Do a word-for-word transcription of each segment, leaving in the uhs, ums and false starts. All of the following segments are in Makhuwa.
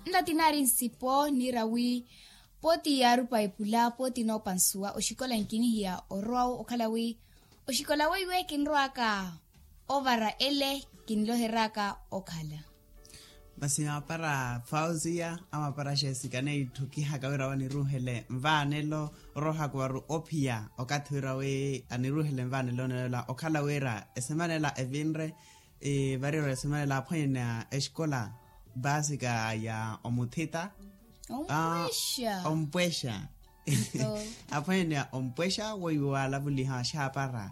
Nla tinaari nsipo niira wi pooti yaarupa epula pooti noopansuwa oxikola nkinihiya orowa-wo okhala wi oxikola weiwe kinrowaka ovara ele kinloheryaka okhala. Masi maapara fausiya a maapara xesikane itthukihaka wira waniruuhele nvaanelo oroohaka waru ophiya okathi wira wi aniruuhele nvaanelo neela okhala wira esemana ela evinre. Variro esemana ela aphwanyani a exikola baasika ya omuthita ompwexa. Aphwanyani a ompwexa weiwo waalavuliha axaapara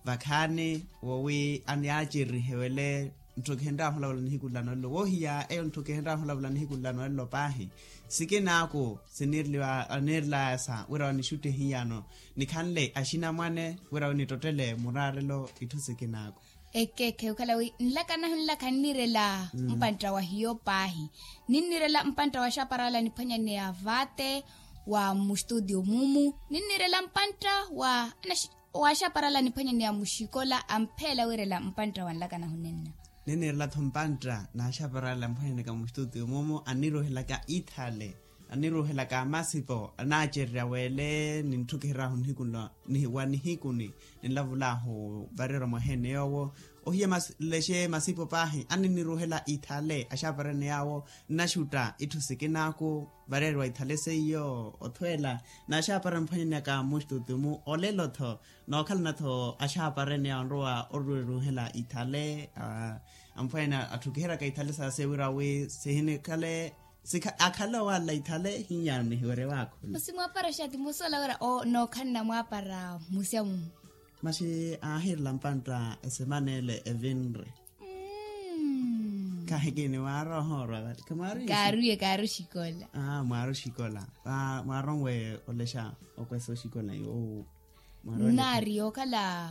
vakhaani wowi aniyaacerihewele. Ntthu kihinrahu olavula nihiku nla noolelo woohiya eyo ntthu kihinrahu olavula nihiku nla noolelo paahi. Sikinaaku siniirelaya sa wira wanixutti hiyano nikhanle axinamwane wira winittottele muraarelo itthu sikinaaku. Ekeekhe okhala wi nlaka nahu nlaka nniirela mpantta wa hiyo paahi. Ninniirela mpantta wa axaparala niphwanyaneya vaate wa mustutio mumu. Ninniirela mpantta wa axaparala niphwanyaneya muxikola ampheela wiirela mpantta wa nlaka nahu nenna. Ninniirela-tho mpantta na axaparala niphwanyaneka muxitutio mumu anniruuhelaka ithale anniruuhelaka amasipo anaacererya weele nintthukiherahu nihiku nlo wa nihikuni ninlavulahu varerwa mwaheene yoowo. Ohiya lexe masipo paahi anninniruuhela ithale axaparene yaawo nnaxutta itthu sikinaaku varerwa ithale seiyo othweela. N'axapara niphwanyaneyaka muxitutio mu olelo-tho nookhalana-tho axaaparene ya onrowa oruweruhela ithale. Amphwanya atthu kiheryaka ithale saase wira wi sihinikhale akhale owaala ithale hinyano nihiwerye waakhula. Masi mwaapara xaati musola wira nookhalana mwaapara musya mumu. Masi aahirela mpantta esemana ele evinre. Kahikini mwaari ohoorwa vale kaaruye kaaru xikola. Mwaari oxikola. Mwaaronwe olexa okwesa oxikola iwo. Nnaari yookhala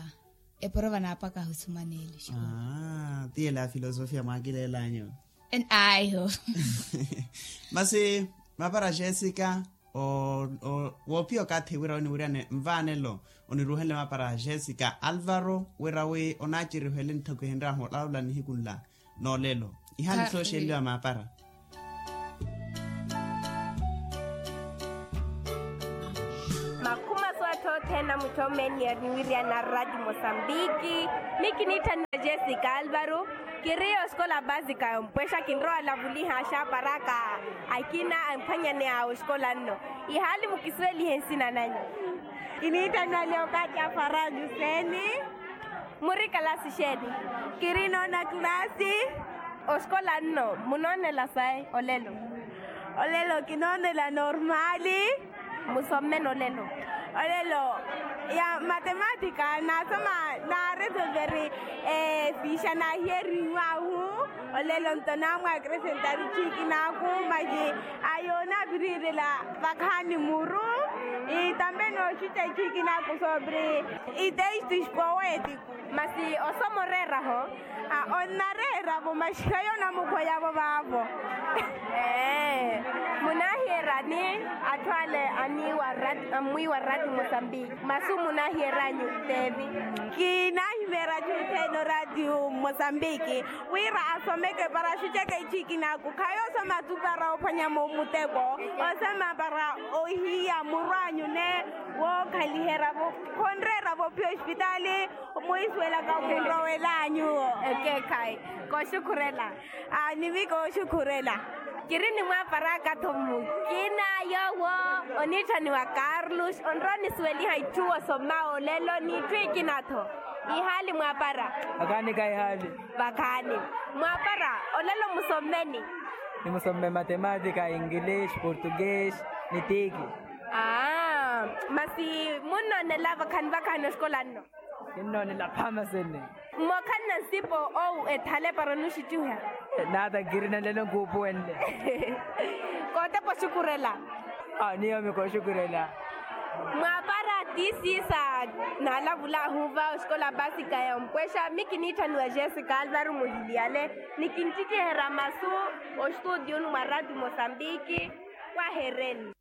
eporova naapakaha osumaneele xikola. Tiyela ya filosofia mwaakileelanyu. Aiho. Masi mapara jessica woophiya okathi wira oniwiriyane nvaanelo oniruuhenle mapara jessica alvaro wira wi onaaceriho ele ntthaku ehinrahu olavula nihiku nla noolelo. Ihaani sooxeliwa maapara. Makhuma soottha othene amutthomeeni aniwiriyana rati mosambiki. Mi kiniitthaniwa jessica alvaro. Kiriyo osikola basika yompwexa kinrowa olavuliha axaaparaka akina amphwanyaneya osikola nno. Ihaali mukisuwelihe nsina nanyu. Kiniitthaniwa leokati afaranyu seni. Muri kalasi xeeni? Kiri noona kalasi. Osikola nno munoonela sayi olelo? Olelo kinoonela normali. Musommene olelo? Olelo ya matematika naasoma naaresolveri fiixa naahiyeriwahu. Olelo nto naamwaakresentari chiikinaaku maji ayo naaviriirela vakhaani muru. Itambe nooxuca chiikinaaku sobre itextos poéticos. Masi osoma oreeraho? Onnareeravo masi khayo onamukhweyavo vaavo. Munaahiyeryani atthu ale aniiwa ammwiiwa rati mosambiki? Masu munaahiyeranyu teevi? Kinaahimeera juthene orati mosambiki wira asomeke para axuceke ichiikinaaku khayo osoma tu para ophwanya muteko. Osoma para ohiya muru anyu ne wookhaliheryavo khonreeryavo ophiya ospitaali. Mwiisuwelaka omunrowela anyuwo. Ekeekhayi. Kooxukhurela. Nimi kooxukhurela. Kiri nimwaaparaka-tho mukina yoowo oniitthaniwa carlos onrowa onisuweliha itthu osoma olelo n'itthu ikina-tho. Ihaali mwaapara? Vakhaani ka ihaali. Vakhaani. Mwaapara olelo musommeni? Nimusomme matematika ingilish portugues ni tiiki. Aa masi munnoonela vakhaani vakhaani osikola nno? Kinnoonela phama sene. Mmookhalana nsipo owu ethale para onuxittiha? Naata nkirina nlelo nkuupuwenle. Kootepa oxukhurela. Niyomi kooxukhurela. Mwaapara tiisiisa naalavulaahu va osikola basika ya ompwexa mi kiniitthaniwa jessica alvaro muhiliyale. Ni kinttikiherya masu oxututiyuni mwa rati mosambiki. Wahereni.